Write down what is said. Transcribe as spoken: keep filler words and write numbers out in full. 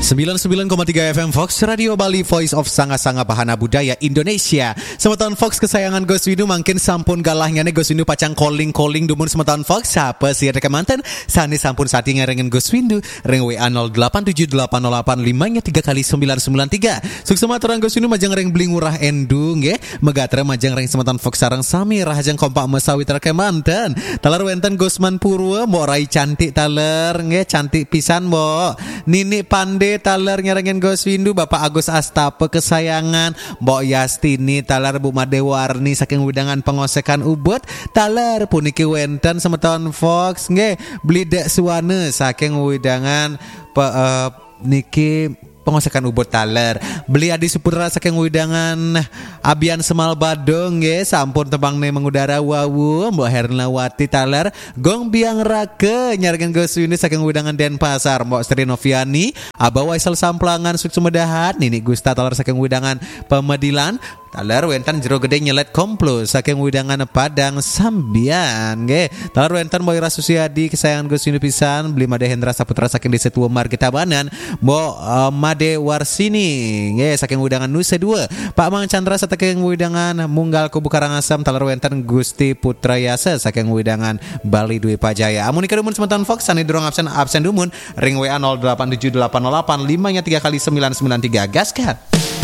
Sembilan sembilan koma tiga F M Fox Radio Bali, Voice of Sanga-Sanga Bahana Budaya Indonesia. Semeton Fox kesayangan Gus Windu, mangkin sampun galahnya nih Gus Windu pacang calling-calling dumun semeton Fox. Siapa sih ada kemanten? Sani sampun sati ngarengin Gus Windu. Ring W A nol delapan tujuh delapan nol delapan lima nya tiga kali sembilan sembilan tiga. Suksma aturang Gus Windu majeng ring Beli Ngurah Endu nggih. Megatra majeng ring semeton Fox sareng sami rahajeng kompak mesawitra kemanten. Taler wenten Gusman Purwa, Mbok Rai cantik taler nggih, cantik pisan Mbok. Nini Pande taler nyarengin Gus Windu, Bapak Agus Astapa kesayangan, Mbok Yastini taler, Bu Made Warni saking wewidangan Pengosekan Ubud, taler puniki wenten semeton Fox nggih, Beli Dek Suwana saking wewidangan pe, eh, niki Pengosekan Ubud taler. Beli Adi Suputra saking wewidangan Abian Semal Badung nggih, sampun tembang nih mengudara wawu, Mbok Hernawati taler, Gong Biang Rake nyarengin Gus Windu saking wewidangan Denpasar, Mbok Sri Noviani, Abah Waisel Samplangan, Suksumedahat, Nini Gusta taler saking wewidangan Pemedilan, taler wenten Jero Gede Nyelet Komplo saking wewidangan Padang Sambian nggih. Taler wenten Mbok Ira Susiadi kesayangan Gus Windu pisan, Beli Made Hendra Saputra saking Desa Tua Margi Tabanan, Mbok eh, Made Warsini nggih saking wewidangan Nusa Dua, Pak Mang Chandra saking wewidangan Munggal Kubu Karangasem, taler wenten Gusti Putra Yasa saking wewidangan Bali Dwi Pajaya. Amunika dumun semeton Fox sani durung absen, absen dumun ring W A nol delapan tujuh delapan nol delapan lima nya tiga kali sembilan sembilan tiga. Gaskan.